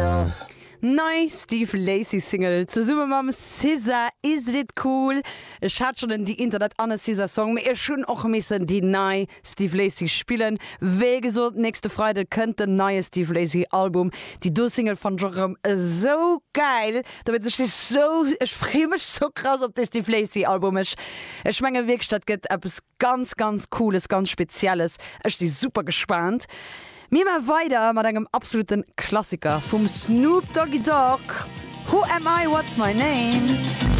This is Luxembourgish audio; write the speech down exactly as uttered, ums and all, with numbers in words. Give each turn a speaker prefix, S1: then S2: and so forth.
S1: myself.
S2: Nei Steve Lacy Single zesumme mam SZA Is It Cool. Ech hat schonn en The Internet an e SZA Song, mee ech hunn och missen déi nei Steve Lacy spillen. Wéi gesot, nächste Freide kënnt den neie Steve Lacy Album. Déi do Single fannen ech och erëm esou geil. Da wëll ech sou ech freeë mech sou krass op de Steve Lacy Album. Ech ech menge wierklech dat gëtt eppes ganz ganz cooles, ganz spezielles. Ech si super gespaant. Mir maache weider mat engem absoluten Klassiker vum Snoop Doggy Dogg. Who am I? What's my name?